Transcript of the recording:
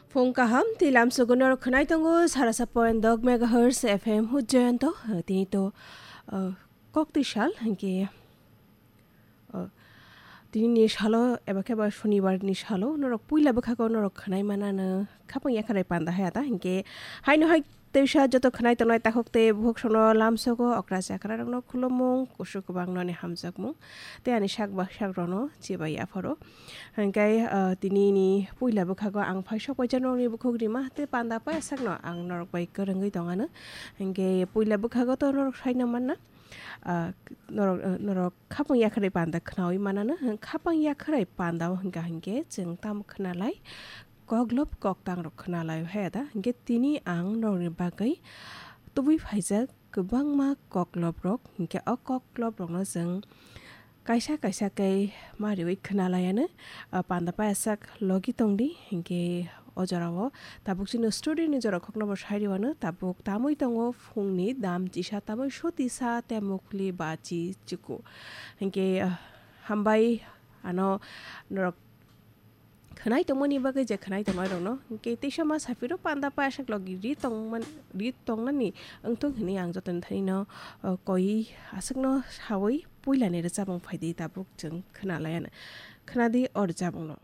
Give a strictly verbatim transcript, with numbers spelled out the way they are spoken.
Phung kaham, tei lamsogo norok khwnai tongo, sarasa point dok megahertz F M hujjayanto, tini to, uh, kok twi sal, hinkhe, uh, tini ni salo, eba khe ba Shonibar ni salo, norok puila bwkhago norok khwnai manano, khapang yakharai panda hai ata, hinkhe haino hai teisa joto khwnai tongnai takhuk tei bukhuk sono lamsogo okra chakra rokno khulumung, kusu kwbang noni hamjakmung, tei ani sak ba sak rokno chibai yapharo. Hinkhe, ah, tini ni puila bwkhago ang phai sok paijak norokni bukhuk rima tei panda paisakno ang norok bai kwrwngwi tongano. Hinkhe puila bwkhago to norok saino manna, ah, norok, ah, norok khapang yakharwi panda khnaui manano. Khapang yakharwi panda o hinkha hinkhe chwng tamo khnalai, koklop koktang rok khnalai hai da. Hinkhe tini ang norokni bagwi tubui phaijak kwbangma koklop rok, hinkhe o koklop rokno chwng kaisa kaisa khe mariui khwnalaiano, ah, panda payasak logi tongdi, hinkhe o jorao tabuk chini studio ni jora khokno bo sairiwano, tabuk tamui tongo phungni dam chisa, tamui sotisa, temukli, bachi, chuku. Hinkhe, ah, hambai ano norok khwnai tongmani bagwi je khwnai tongnai rokno, hinkhe teisa ma saphiro panda payasak logi ri tongman, ri tongnani wngthung hinwi ang jotoni thanino, o, koi aswkno saui puilani rwchapmung phaidi tabuk chwng khwnalaiano. Khwnadi o rwchapmungno.